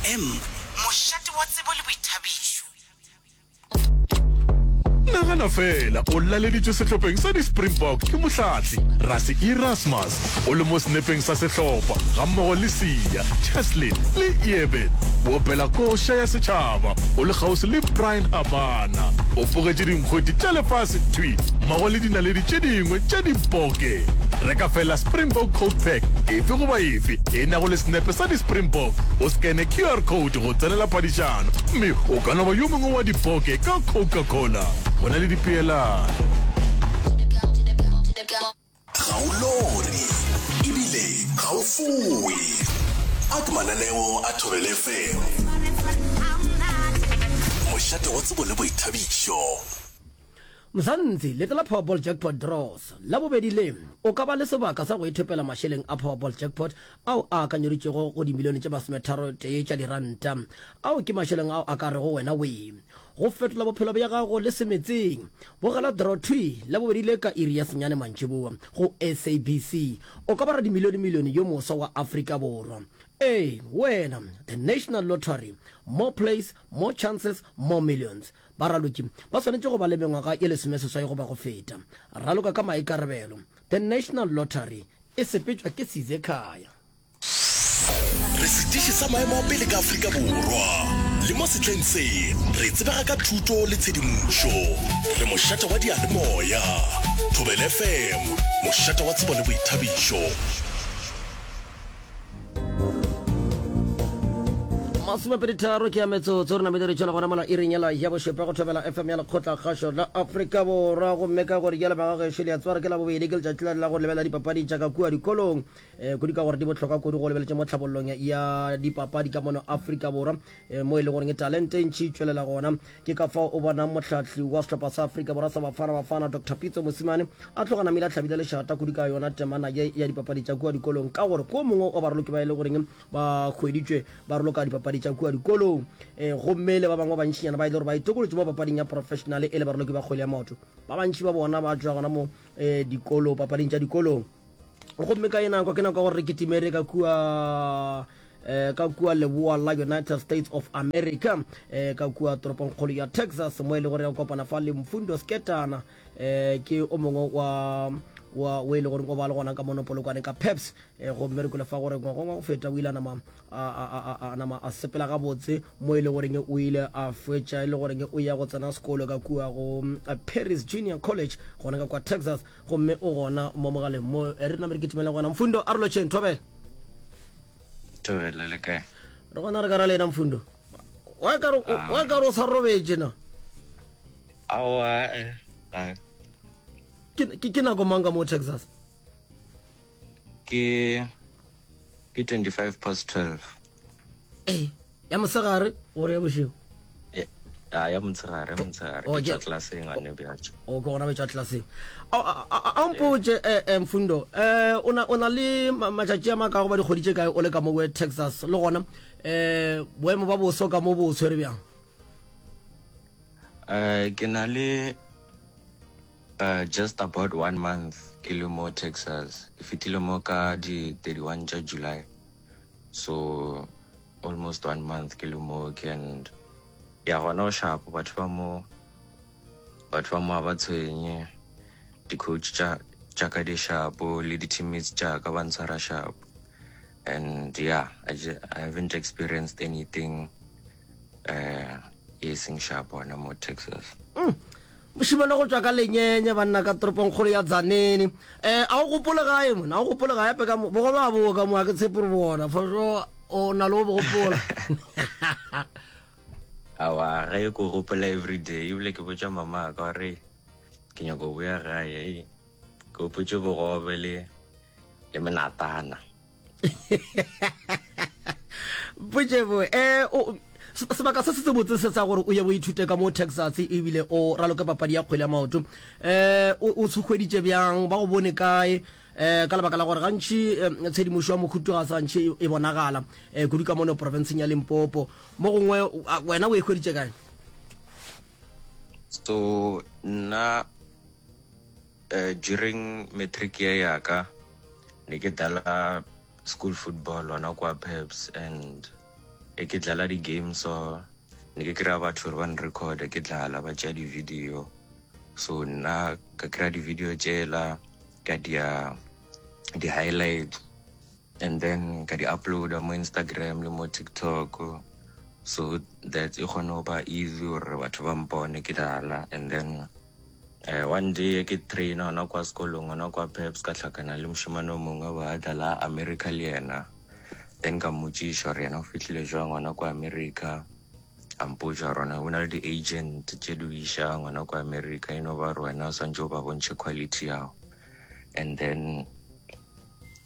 FM, mošate wa tsebo le boithabišo. Nagana feela o laleditšwe sehlopheng sa di-Springbok ke mohlahli Rassie Erasmus, o le mo senepeng sa sehlopha gammogo le Siya, Cheslin le Eben. O opela koša ya setšhaba o le kgauswi le Bryan Habana. O pogetše dinkgwete tša lefase thwi mmogo le dinaledi tše dingwe tša diboke. Reka feela Springbok Coke Pack efe goba efe e nago le senepe sa di-Springbok, o skene QR code go tsenela phadišano mme o ka no ba yo mongwe wa diboke ka Coca-Cola. Go na le dipeelano. Ga o lore ebile ga o foe. A ke mananeo a Thobela FM. Mošate wa tsebo le boithabišo. Mzansi, Leto la Powerball Jackpot Draws Labobedi le, o ka ba le sebaka sa go ithopela mašeleng a Powerball Jackpot ao a akanyeditšwego go dimilione tše masometharotee tša diranta. Ao ke mašeleng ao a ka rego wena wee go fetola bophelo bja gago le semetseng. Bogela draw thwi Labobedi le ka iri ya senyane mantšiboa go SABC. O ka ba radimilionemilione yo moswa wa Afrika Borwa. Ee, wena! The National Lottery, More plays, more chances, more millions. Baraloki ba swanetše go ba le mengwaga ye lesomeseswai goba go feta. Raloka ka maikarabelo. The National Lottery e sepetšwa ke Sizekhaya. Re setiši sa maemo a pele ka Afrika Borwa, le mo sehleng se re tsebega ka thuto le tshedimošo. Re mošate wa diyalemoya. Thobela FM, mošate wa tsebo le boithabišo. Masomepeditharo ke ya metsotso re namile re tšwela gona mola iring yela ya bošupa go thobela fm ya lekgotla kgašo la afrika borwa gomme ka gore jale ba gagešo le ya tswara ke la bobedi ke letšatši la la go lebelela dipapadi tša ka kua dikolong um kudu ka gore di bohlokwa kudu go lebeletše mo tlhabollong ya dipapadi ka mono afrika borwa um mo e le goreng talente e ntšhi e tšwelela gona Ke ka fao o bonang mohlahli wa sehlopha sa Afrika Borwa sa Bafana Bafana Doctor Pitso Mosimane a tloga namile a hlabile lešata kudu ka yona temana ye ya dipapadi tša kua dikolong ka gore ko mongwe wa baraloki ba e le goreng ba hweditšwe ba raloka dipapadi tša kua dikolong e, gomme le ba bangwe ba bantšinyana ba e le gore ba itokolotše mo papading ya professional e le baraloki ba kgwele ya maoto ba bantši ba bona ba tšwa gona mo e, dikolo papading tša dikolong gomme ka ye nako ke nako ya gore re kitimere ka kua eh, ka kua leboa la United States of America eh, ka kua toropongkgolo ya Texas mo e le gore ya kopana fa le Mfundo Sketana eh, ke o mongwe wa wa o e le gore o ba le gona ka mono Polokwane ka Peps eh, gomme re kwele fa gore ngwagong wa go feta o ile a nama a, a, a, a, a nama a sepela gabotse mo e le goreng o ile a fetša e le goreng o ya go tsena sekolo ka kua go eh, Paris Junior College gona ka kwa Texas gomme o gona mo mogaleng mo eh, re name re kitimele gona Mfundo a re lotšheng thobela Thobela le kae? Re gona re ka ra lena Mfundo. Wa ka re ah. wa ka re o sa robetše na? Aowa eh. eh. Ke ke nako mang ka mo Texas? Ke ke 25 past 12. Eh. Ya mosegare gore ya bošego? Ya, ya motshegare, ya motshegare. Ke tšwa klaseng gane bjatšo. O ke gona betšwa klaseng. A mpotše eh, eh, Mfundo, eh, o na o na le matšatši a makago ba dikgwedi tše kae o le ka mo Texas le gona eh boemo ba boso ka mo bo tshwere bjang? Eh ke na le uh, just about one month ke le mo Texas. Ke fetile mo ka di 31 tša July. So almost one month ke le mo ke and ya gona o sharp batho ba mo batho ba mo ga ba tshwenye di-coach tša tša ka di sharp le di-teammates tša ka ba ntshwara sharp and yeah I, just, I haven't experienced anything uh e seng sharp gona mo Texas mm. Mošemane go tšwa ka Lenyenye banna ka toropongkgolo ya Tzaneen. Eh, a o gopole gae mona, a o gopole gae ape ka mo, bogobe a bo ka mo, a ke tshepe gore bona, for sure o na le o bo gopola. Aowa, gae ko gopola everyday, ebile ke botša mama ka gore ke nyaka go boya gae, ke gopotše bogobe le le menatana. Potšebo, eh, o, sebaka se se botse se sa gore o ye o ithute ka mo Texas ebile o raloke papadi ya kgwele ya maoto eh o o se hweditše bjang ba go bone kae eh ka lebaka la gore gantši eh, tshedimošo ya mohuto ga se gantši e, e bonagala eh kudu ka mono profenseng ya Limpopo mo gongwe wena o e hweditše kae so nna uh, during matric year ya ka ne ke dala school football gona kwa Peps and. E ke dlala di-game so ne ke kry-a batho gore ba nrecorde ke dlala ba tšea di-video so nna ka kry-a di-video tšela ka dia di-highlight and then ka di uploada mo Instagram le mo TikTok so that e kgone go ba easy gore batho ba mpone ke dlala and then uh, one day ke traina gona kwa sekolong gona kwa Peps ka hlakana le mošemane o mongwe ba dlala America le yena Then ka mmotšiša gore yena o fihlile jwang gona kwa America. A mpotša gore go na le di-agent tše di o išang gona kwa America, e no ba gore wena o swantše o ba bontšhe quality ya gago. And then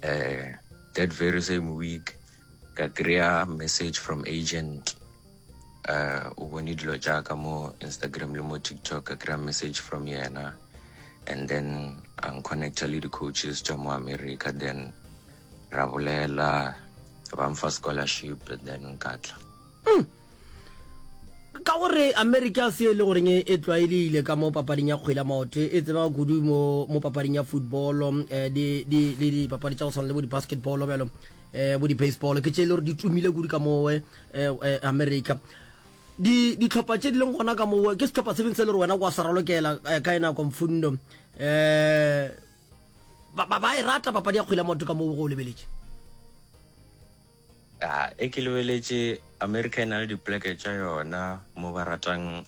uh, that very same week ka kry-a message from agent uh, o bone dilo tša ka mo Instagram le mo TikTok, ka kry-a message from yena and then a nconnecta le di-coaches tša mo America then ra bolela ba mfa scholarship then nka tla. Mm. Ka gore America se e le goreng e tlwaelegile ka mo papading ya kgwele ya maoto e tsebega kudu mo mo papading ya football eh, di di le dipapadi tša go tshwana le bo di-basketball bjalo eh, bo di-baseball ke tše e le gore di tumile kudu ka mo eh, eh, America di ditlhopha tše di leng gona ka mo ke sehlopha se feng se le gore wena kwa sa ralokela eh, ka e nako mfundo eh Ba, ba, ba e rata papadi ya kgwele ya maoto ka mo go o lebeletše. A e ke lebeletše America e na le dipleke tša yona mo ba ratang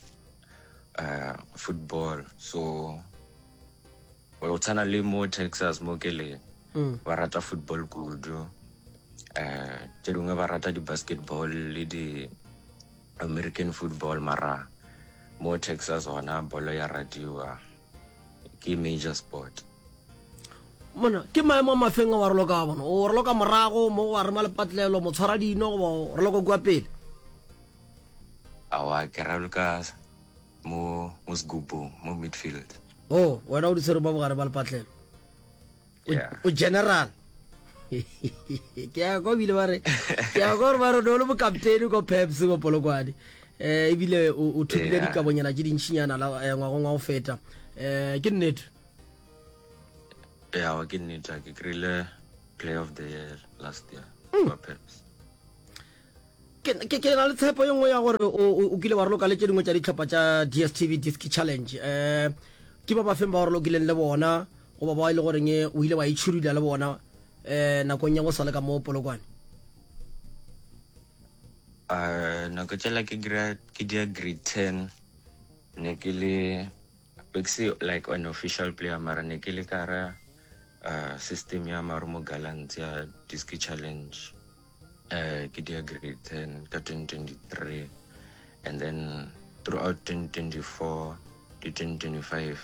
uh, football so go tshwana le mo Texas mo ke leng mm. ba rata football kudu um tše dingwe ba rata di-basketball le di-american football mara mo Texas gona bolo ya ratiwa ke major sport. Mona, ke maemo a mafeng a wa raloka wa bona? O raloka morago mo wa rema lepatlelo, motshwara dino goba o raloka kua pele? Awa, ke raloka mo mo segubung, mo midfield. Oh, wena o di tshwere mo bogare ba lepatlelo. O general. Ke ya kwa bile ba re, ke ya kwa gore ba re o le mokaptene ko Peps ko Polokwane. Eh ebile o thopile dikabonyana tše dintšinyana la eh, ngwagong wa go feta. Eh ke nnete. Ya, ke nnete ke kry-ile player of the year last year mm. kwa Peps. Ke, ke, ke na le tshepo ye nngwe ya gore o, o, o kile wa raloka le tše dingwe tša dihlopha tša DStv Diski Challenge. Um ke ba bafeng ba o ralokileng le bona goba bao e le goreng o ile wa itšhidula le bona um nakong ya go sa le ka mo Polokwane? Uh, nako tšela ke dira ke dira grade 10 ne ke le be ke se like an official player mara ne ke le ka ra uh, system ya Marumo Gallants ya Diski Challenge Uh, ke dia grade 10 ka 2023 and then throughout 2024 to 2025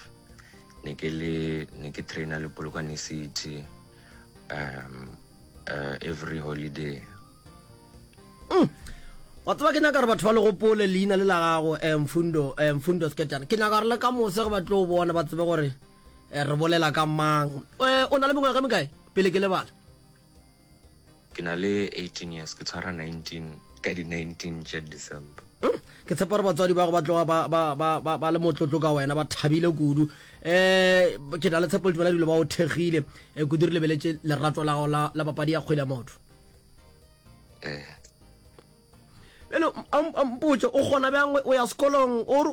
ne ke le ne ke trainer le Polokwane City um uh, every holiday. Mm. Wa tseba ke nyaka gore batho ba le gopole leina le la gago eh, Mfundo eh, Mfundo Sketana. Ke nyaka gore le ka mose ge ba tlo bona ba tsebe gore eh, re bolela ka mang. Eh, o na le mengwaga e mekae pele ke lebala? Ke na le 18 years, ke tshwara 19 ka di 19 tša December. Hmm, ke tshepa gore batswadi ba go ba tloga ba, ba, ba, ba, ba le motlotlo ka wena, ba thabile kudu. Eh, ke na le tshepo le tumela dilo ba o thekgile eh, kudu re lebeletše lerato la gago la, la papadi ya kgwele ya maoto. Eh. Bjale a mpotše o kgona bjang o ya sekolong o re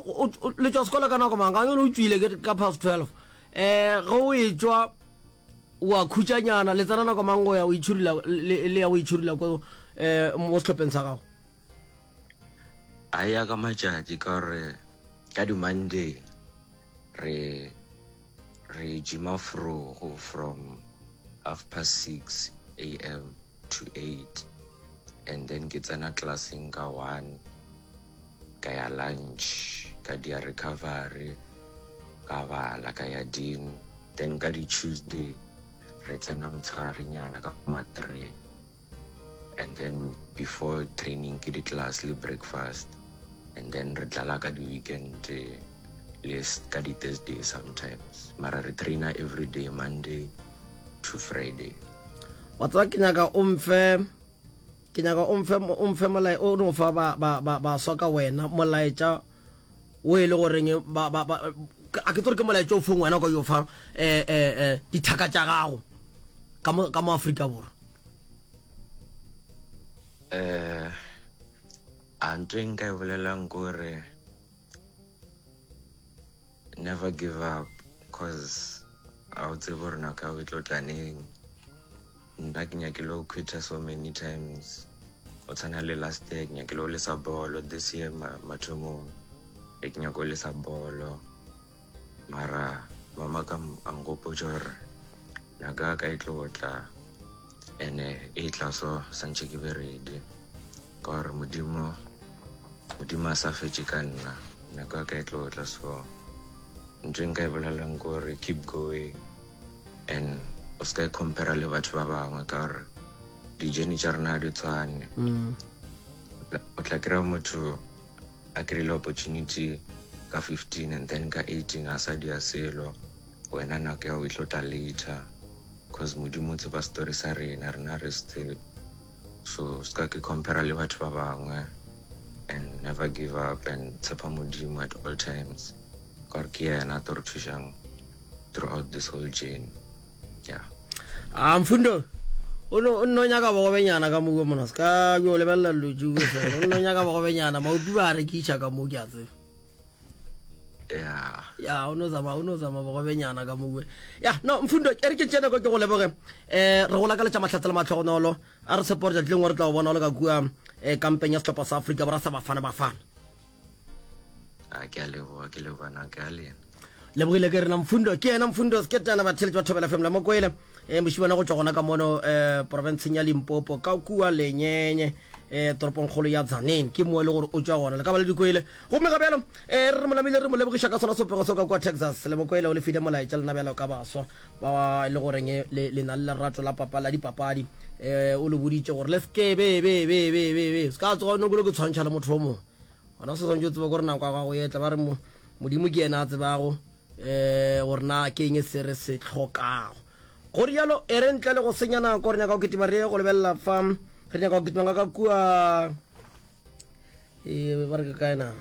le tšwa sekolo ka nako mang? Ga o tšwile ke ka past 12. Eh, ge o etšwa O a khutšanyana, le tsena nako mang go ya go itšhudula le, le ya go itšhudula ko eh, mo sehlopheng sa gago? A ya ka matšatši ka gore ka di-Monday re re gyma frogo from half past 6 am to 8 and then ke tsena classeng ka 1 ka ya lunch ka dia recovery ka bala ka ya din then ka di Tuesday re tsena motshegarenyana ka ma 3 and then before training ke di class le breakfast and then re dlala ka di weekend le ka di Thursday sometimes mara re trainer every day Monday to Friday. Wa tseba ke nyaka o mfe ke nyaka o mfe o mfe molae o no fa ba ba ba baswa ka wena molaetša o e le goreng ba ba ba a ke tsore ke molaetša o fong wena o ka yo fa eh eh eh dithaka tša gago ka mo ka mo Afrika Borwa. Eh. A ntho e nka e bolelang ke gore never give up cause a o tsebe gore nako ya go e tlo tla neng. Nna ke nyakile go quitter so many times go tshwana le last year ke nyakile go lesa bolo, this year mathomong e ke nyaka go lesa bolo. Mara mama ka a nkgopotša gore nako ya ka e tlo tla ene e tla so santše ke be ready ka gore modimo modimo a sa fetše ka nna nako ya ka e tlo tla so ntho e nka e bolelang ke gore keep going and o se ka e compare le batho ba bangwe ka gore di-journey tša rena ga di tshwane o tla kry-a motho a kry-ile opportunity ka 15 and then ka 18 a sa dia selo wena nako ya go e tlo tla later cause modimo o tseba story sa rena rena re se tsebe so se ka ke compare le batho ba bangwe and never give up and tshepa modimo at all times ka gore ke yena a tlo re thušang throughout this whole journey. Yeah. A Mfundo, o no o nno nyaka bogobenyana ka mo mona se ka yo lebelela dilo tšeo fela. O nno nyaka bogobenyana, maopi ba a rekiša ka mo ke a tseba. Yeah. Ya, o no zama, o no zama bogobenyana ka mo. Ya, no Mfundo, e re ke tšene ko ke go leboge. Eh, re go lakaletša mahlatse le matlhogonolo. A re tshepe gore tšatši lengwe re tla go bona o le ka kua eh, kampeng ya sehlopha sa Afrika Borwa sa Bafana Bafana. A ke a leboga, ke leboga nako ya lena. Lebogile ke rena Mfundo, ke yena Mfundo Seketana batheletši ba Thobela FM la Mokwele. Eh mošimana go tšwa gona ka mono eh profenseng ya Limpopo ka kua Lenyenye eh toropongkgolo ya Tzaneen ke mo e le gore o tšwa gona le ka ba le dikwele. Gomme ga bjalo eh re mo namile re mo lebogiša ka sona sopego seo ka kua Texas le Mokwele o le file molaetša lena bjalo ka baswa ba e le goreng le le na le lerato la papa la dipapadi eh o le boditše gore le se be be be be be be se ka tsoga no ke tshwantšha le motho o mongwe. Gona se swantše o tseba gore nako ya gago e tla. Ba re Modimo ke yena a tsebago um gore na ke eng se re se hlokago. Go rialo, e re ntle le go senya nako, re nyaka go kitima re ye go lebelela fa. Re nyaka go kitima ka ka kua e ba re ke kae na?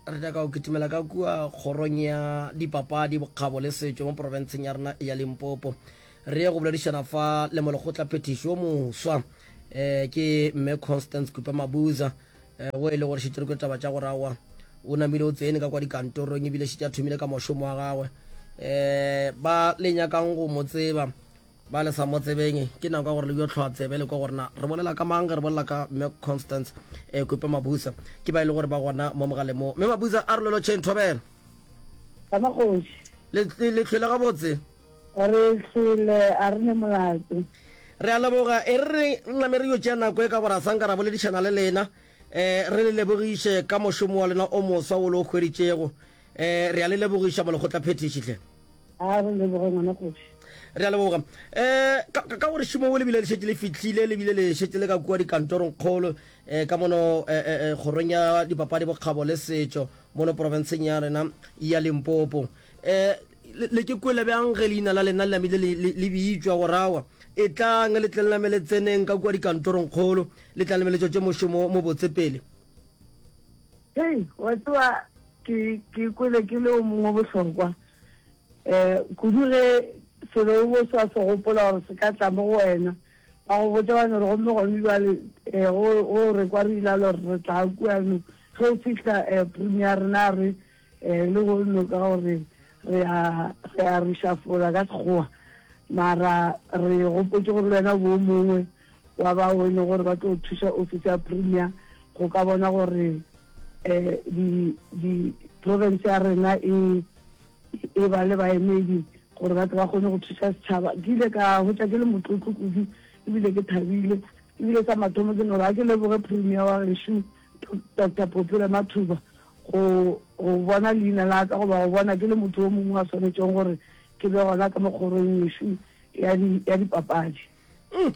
Re nyaka go kitimela ka kua kgorong ya dipapadi, bokgabo le setšo mo profenseng ya rena ya Limpopo. Re ye go boledišana fa le molekgotlaphethiši wo moswa um ke mme Constance Kupe Mabuza um wo e le gore šetše re kwe taba tša gore aowa o namile o tsene ka kwa dikantorong ebile šetše a thomile ka mošomo wa gagwe. Um ba le nyakang go mo tseba ba le sa mo tsebeng ke nako ya gore le yo tlhoa tsebe le kwa gore na re bolela ka mang ge re bolela ka mme Constance um Kupe Mabuza ke ba e le gore ba gona mo mogaleng mo. Mme Mabuza a re lolotšheng thobela. Le hlwele gabotse. Re hlwele, a re ne molato. Re a leboga. E re re name re yo tšea nako e ka gore a sa nka ra boledišana le lena. Um re le lebogiše ka mošomo wa lena o moswa wo le o hweditšego. Um re a le lebogiša Molekgotlaphethiši hle. A re leboge ngwana kgoši. Re a leboga. Um ka, ka gore šomo wo le bile le šetše le fihlile, le bile le šetše le ka kua dikantorongkgolo um ka mono um kgorong ya dipapadi, bokgabo le setšo mono profenseng ya rena ya Limpopo. Um Le, le ke kwele bjang ge leina la lena le namile le, le, le bitšwa go rawa? Etlang, le tle le name le tseneng ka kua dikantorongkgolo, le tla name le tšwetše mošomo mobotse pele. Hei, wa tseba, ke, ke kwele ke le o mongwe bohlokwa, um kudu ge selo o bo sa se gopola gore se ka tla mo go wena. Ba go botša ba no re, gomme gone bjale, um go, go re kwa re ilalo re re tla kuano. Ge o fihla, um premier ya rena a re, Eh, le go ka gore re a re a reshuffle ka Sekgowa, mara re gopotše gore le wena o bo o mongwe wa bao e leng gore ba tlo thuša office ya premier go ka bona gore eh di di province ya rena e e ba le baemedi gore ba tle ba kgone go thuša setšhaba. Ke ile ka hwetša ke le motlotlo kudu ebile ke thabile, ebile sa mathomo ke no re a ke leboge premier wa gešo Doctor Phophi Ramathuba go, go bona leina la ka goba go bona ke le motho yo mongwe a swanetšego gore ke be gona ka mo kgorong yešo ya di, ya dipapadi. Mm.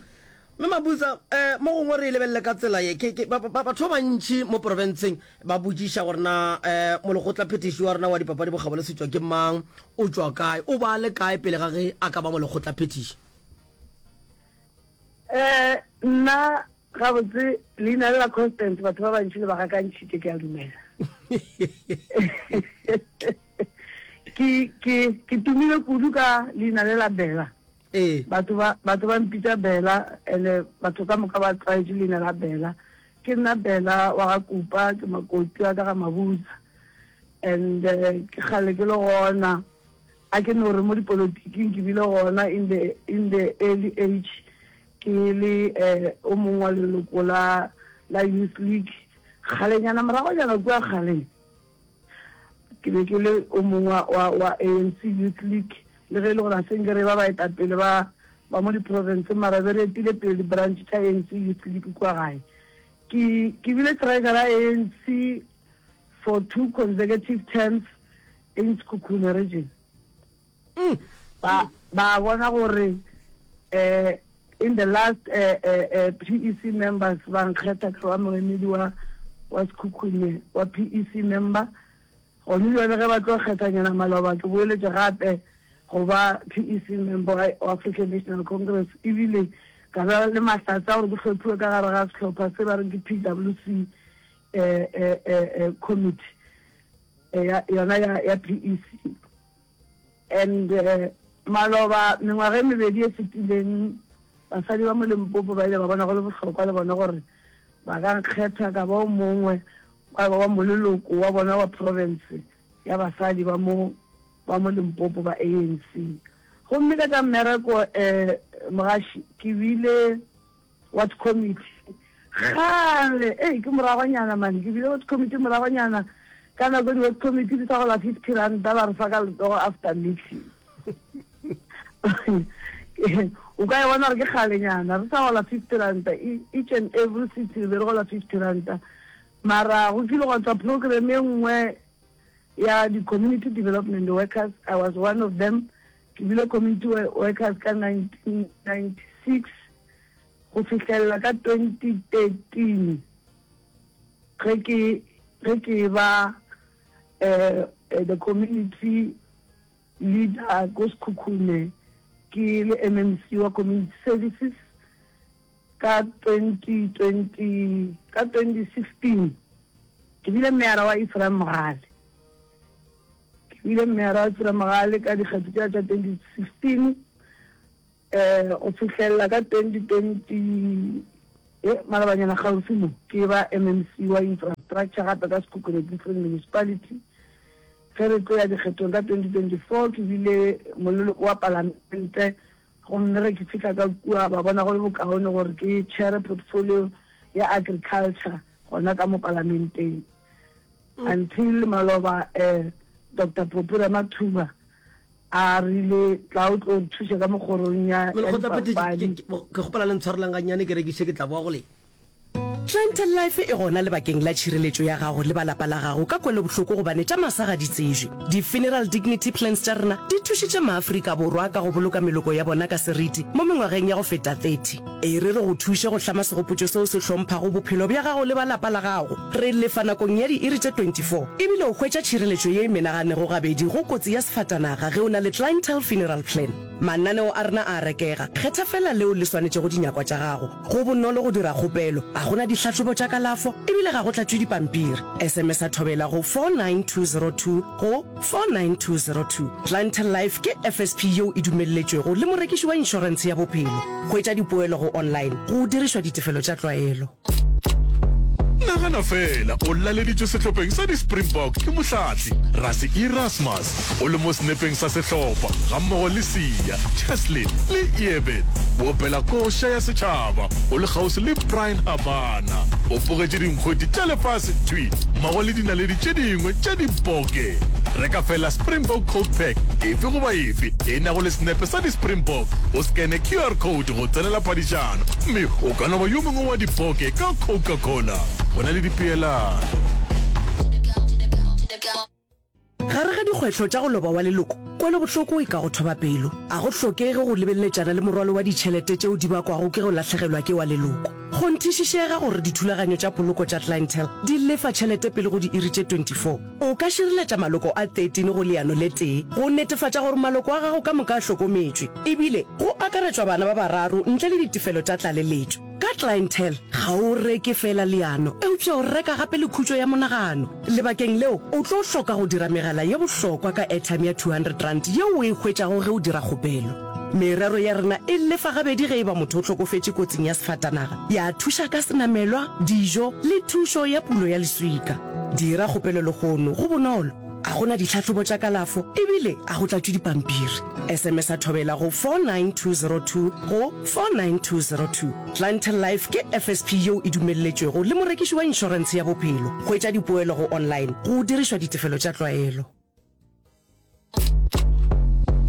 Mme Mabuza, eh, mo gongwe re e lebelele ka tsela ye. Ke, ke, ba, ba, batho ba bantši mo profenseng ba botšiša gore na eh, molekgotlaphethiši wa rena wa dipapadi bokgabo le setšo ke mang, o tšwa kae, o ba le kae pele ga ge a ka ba molekgotlaphethiši. Eh, nna Gabotse, leina le la Constance batho ba bantši le ba gakantšhitše, ke a dumela. Ke, ke, ke tumile kudu ka leina le la Bella. Ee. Batho ba, batho ba mpitša Bella, and-e batho ka moka ba tlwaetše leina la Bella. Ke nna Bella wa ga Kupa, ke makoti wa ka ga Mabuza. And ke kgale ke le gona. A ke no re mo dipolotiking ke bile gona in the in the early age ke le o mongwe wa leloko la la Youth League. Kgalenyana moragonyana kua kgaleng ke be ke le o mongwe wa wa ANC Youth League le ge e le gore a se nke re ba baetapele ba ba mo diprofenseng mara be re etile pele di-branch tša ANC Youth League kua gae. Ke ke bile treasurer ya ANC for two consecutive terms in Sekhukhune region. Ba ba bona gore eh in the last eh, eh, eh, PEC members ba nkgetha ka ba moemedi wa wa Sekhukhune wa PEC member. Gone bjale ge ba tlo kgethanyana maloba ke boeletše gape go ba PEC member wa African National Congress ebile ka ba le mahlatse a gore ke hlophiwe ka gare ga sehlopha se ba reng ke PWC eh, eh, eh, eh, committee eh, ya, yona ya, ya PEC. And maloba mengwaga e mebedi e fetileng basadi ba mo Limpopo ba ile ba bona go le bohlokwa le bona gore ba ka nkgetha ka ba o mongwe wa wa moleloko wa bona wa province ya basadi ba mo ba mo Limpopo ba ANC. Gomme ka tša mmereko um mogaši ke bile Ward committee kgale ei ke moragonyana man ke bile ward committee moragonyana ka nako di ward committee di sa gola 50 ranta ba re fa ka letsogo after meeting o ka e bona gore ke kgalenyana re sa gola 50 ranta e, each and every city re be re gola 50 ranta mara go kile gwa tswa program e nngwe ya di-community development workers i was one of them Ke bile community workers ka 1996 go fihlelela ka 2013 ge ke ge ke ba eh, the community leader ko Sekhukhune ke le MMC wa community services ka 2020 ka 2016 ke bile meyara wa Ephraim Mogale. Ke bile meyara wa Tsira-Mogale ka dikgetho tša tša 2016 um go fihlelela ka 2020 ye malobanyana kgauswi mo ke ba MMC wa infrastructure gape ka Sekhukhune District Municipality. Ge re tlo ya dikgethong ka 2024 ke bile moleloko wa palamente gomme ge ke fihla ka kua ba bona go le bokaone gore ke chair portfolio ya agriculture gona ka mo palamenteng. Until maloba eh Doctor Poppy Ramathuba a rile tla o tlo re thuša ka mo kgorong ya ya dipapadi. Ke kgopela le ntshwarelang gannyane ke rekiše ke tla boa go lena. Clientele Life e gona lebakeng la tšhireletšo ya gago le ba lapa la gago ka kwelobohloko gobane tša masa ga di tsejwe. Di-Funeral Dignity Plans tša rena di thušitše maAfrika Borwa ka go boloka meloko ya bona ka seriti mo mengwageng ya go feta 30. E re re go thuše go hlama segopotšo seo se hlomphago bophelo bja gago le ba lapa la gago. Re lefa nakong ya diiri tše 24, e bile o hwetša tšhireletšo ye e menaganego gabedi go kotsi ya sefatanaga ge o na le Clientele Funeral Plan. Mananeo a rena a a rekega, kgetha feela leo le swanetšego dinyakwa tša gago. Go bonolo go dira kgopelo, ga go na dihlahlobo tša kalafo e bile ga go tlatšwe dipampiri. SMS-a Thobela go 49202 go. 49202. Clientele Life ke FSP yeo e dumelletšwego le morekiši wa inšorentshe ya bophelo. Hwetša dipoelo go online go dirišwa ditefelo tša tlwaelo. Nagana feela o laleditšwe sehlopheng sa di-Springbok ke mohlahli Rassie Erasmus o le mo senepeng sa sehlopha gammogo le Siya, Cheslin le Eben. O opela koša ya setšhaba o le kgauswi le Bryan Habana. O pogetše dinkgwete tša lefase thwi mmogo le dinaledi tše dingwe tša diboke. Reka feela Springbok Coke Pack efe goba efe e nago le senepe sa di-Springbok, o skene QR code go tsenela phadišano mme o ka no ba yo mongwe wa diboke ka Coca-Cola. Go na le dipeelano. Gare ga dikgwetlho tša go loba wa leloko, kwelobohloko e ka go thoba pelo. A go hlokege go lebeleletšana le morwalo wa ditšhelete tšeo di bakwago ke go lahlegelwa ke wa leloko. Kgonthišišega gore dithulaganyo tša poloko tša Clientele di lefa tšhelete pele go diiri tše 24. O ka šireletša maloko a 13 go leano le tee go netefatša gore maloko a gago ka moka a hlokometšwe, ebile go akaretšwa bana ba bararo ntle le ditefelo tša tlaleletšo. Ka Clientele, ga o reke feela leano, eupša o reka gape le khutšo ya monagano. Lebakeng leo, o tlo hloka go dira megala ye bohlokwa ka airtime ya R200 yeo o e hwetšago ge o dira kgopelo. Merero ya rena e lefa gabedi ge e ba motho o hlokofetše kotsing ya sefatanaga, ya thuša ka senamelwa, dijo le thušo ya pulo ya leswika. Dira kgopelo lehono, go bonolo, a go na ditlhahlobo tša kalafo ebile a go tlatšwe dipampiri. SMS-a Thobela go 49202 go 49202. Clientele Life ke FSP yeo e dumelletšwego le morekiši wa inšorentshe ya bophelo. Hwetša dipoelo go online go dirišwa ditefelo tša tlwaelo.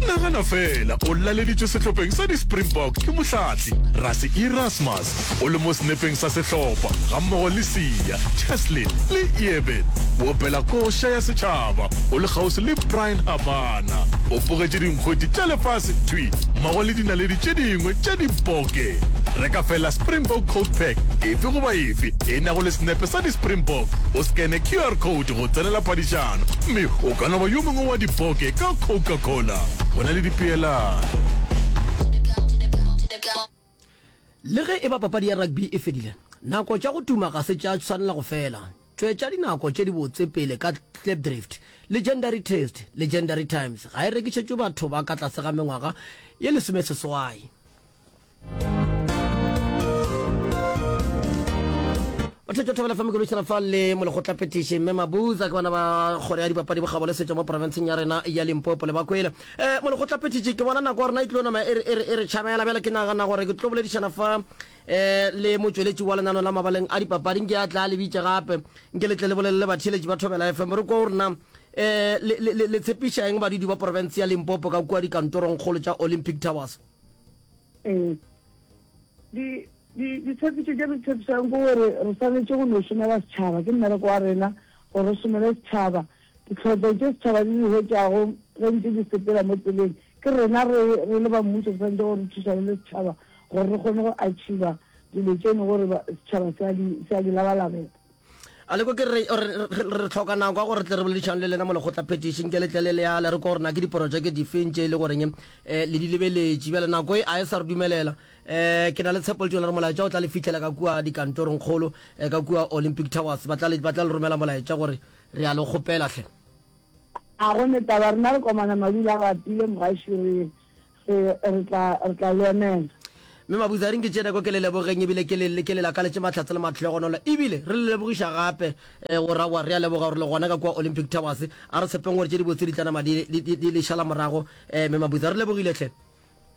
Nagana feela o laleditšwe sehlopheng sa di-Springbok ke mohlahli Rassie Erasmus o le mo senepeng sa sehlopha gammogo le Siya, Cheslin le Eben. O opela koša ya setšhaba o le kgauswi le Bryan Habana. O bogetše dinkgwete tša lefase thwi mmogo le dinaledi tše dingwe tša diboke. Reka feela Springbok Coke Pack efe goba efe e nago le senepe sa di-Springbok, o skene QR code go tsenela phadišano mme o ka no ba yo mongwe wa diboke ka Coca-Cola. Go na le dipeelano. Le ge e ba papadi ya rugby e fedile, nako tša go tuma ga se tša swanela go fela. Tšwetša dinako tše dibotse pele ka Klipdrift. Legendary Taste, Legendary Times ga e rekišetšwe batho ba ka tlase ga mengwaga ye lesomeseswai. Batho thobela fa mokološana fa le molekgotlaphethiši mme Mabuza ke bona ba kgoro ya dipapadi bokgabo le setšo mo profenseng ya rena ya Limpopo le bakwele. Um molekgotlaphethiši ke bona nako ya rena e tlo nama e re, e re, e re tšhabela bjale ke nagana gore ke tlo boledišana fa um le motšweletši wa lenano la mabaleng a dipapadi nke a tla le bitše gape nke le tle le bolelele batheeletši ba Thobela FM re kwa gore na um le, le, le, le tshepiša eng badudi ba profense ya Limpopo ka kua dikantorongkgolo tša Olympic Towers. Ee. Di, di, ditshepišo tše re di tshepišang ke gore re swanetše go no šomela setšhaba. Ke mmereko wa rena gore re šomele setšhaba. Ditlhotlo tše setšhaba di di hwetšago ge ntše di sepela mo tseleng, ke rena re, re le ba mmušo re swanetše gore re thušane le setšhaba gore re kgone go achieva dilo tšeno gore setšhaba se a di, se a di labalabela. A le kwa ke re, re, re, re hloka nako ya gore re tle re boledišane le lena mo lekgotlaphethiši, nke le tle le leale re kwa gore na ke diporojeke difeng tše e le goreng um le di lebeletše. Bjale nako e a e sa re dumelela. Um ke na le tshepo le tumelo gore molaetša o tla le fihlela ka kua dikantorongkgolo, um ka kua Olympic Towers. Ba tla le, ba tla le romela molaetša gore re a le kgopela hle. A go ne taba, rena re komana madula a bapile mogaši re Re, re tla, re tla le emela. Mme Mabuza, a re nke tšee nako ke le lebogeng ebile ke le, ke le lakaletše mahlatse le mahlogonolo ebile re le lebogiša gape eh, gore aowa re a leboga gore le gona ka kua Olympic Towers. A re tshepeng gore tše dibotse di tla nama di, di, di, di le šala morago. Eh, Mme Mabuza, re lebogile hle.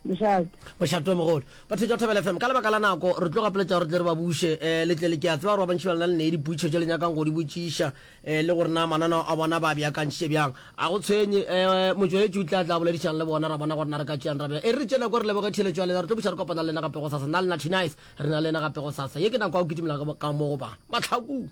Mošate. Mošate o mogolo. Batho tša Thobela FM, ka lebaka la nako re tlo gapeletša gore tle re ba buše eh, le tle le ke a tseba gore ba bantši ba lena le ne dipotšišo tše le nyakang go di botšiša eh, le gore na mananeo a bona ba a beakantšhitše bjang. A go tshwenye, eh, motšweletši o tla tla boledišana le bona, ra bona gore na re ka tšeang ra bjang. E re re tšee nako re leboge theeletšo ya lena, re tlo buša re kopana le lena gape gosasa. Nna le na Tinice, re na le lena gape gosasa. Ye ke nako ya go kitimela ka mo go ba Mahlakung.